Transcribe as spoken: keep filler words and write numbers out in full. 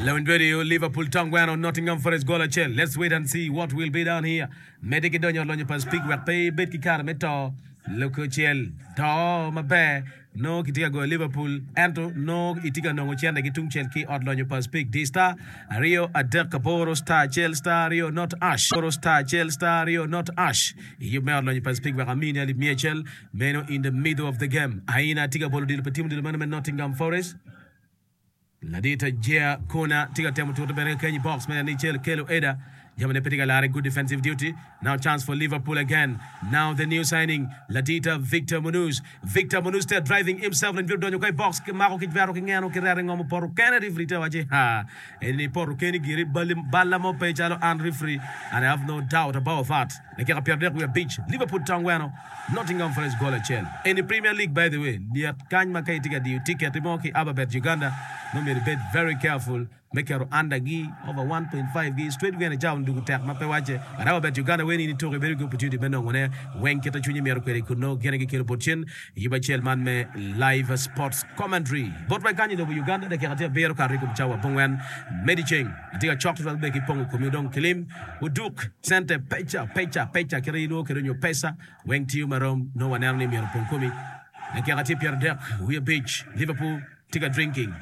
Lewin Radio, Liverpool Tongweno, Nottingham Forest goal acel. Let's wait and see what will be down here. Medde ki donyo lonyo pa Speke wek pe ibed ki kare me to loko cel to maber no kitye ka goyo Liverpool ento no itye ka nongo cente ki tung cel ki ot lonyo pa Speke di star aryo adek aboro star acel star aryo not hash aboro star acel star aryo not hash i yub me ot lonyo pa Speke wek amini alip miya acel meno in the middle of the game aina tye ka bolo odilo pa tim odilo meno me Nottingham Forest Ladita Jea Kona tye ka temo tuto bene keny i box me ni cel kelo Eda Jamane pe tye ka lare good defensive duty now chance for Liverpool again now the new signing Ladita Victor Munoz Victor Munoz still driving himself and donyo ka i box mako ki jwero ki ngeno ki rere ngomo poto kene referee te waci ha eni poto keni giri balla mo pe calo an referee and I have no doubt about that dakika pyero adek wiye abic Liverpool tongweno Nottingham Forest goal acel eni Premier League by the way lyet kany ma ka itye ka diyo ticket mo ki Ababet Uganda no myero ibed very careful me keto under gi over one point five gi straight win icawa ndugu tek ma pe wacce but Ababet Uganda weni in ituko ibedo ki opportunity me nongone weng kita cwinyi myero kwede kun gine gikelo bot cen yub acel man me live sports commentary bot wa kany i lobo Uganda dakika tye abiro kato i kom cawa abongwen medi ceng atye ka cok tutwal be ki pongo komi dong kilim uduk cente peca peca peca kite ilwongo kwede nyo pesa weng tiyo marom no waneno ni myero opong komi dakika tye pyero adek wiye abic Liverpool tye ka drinking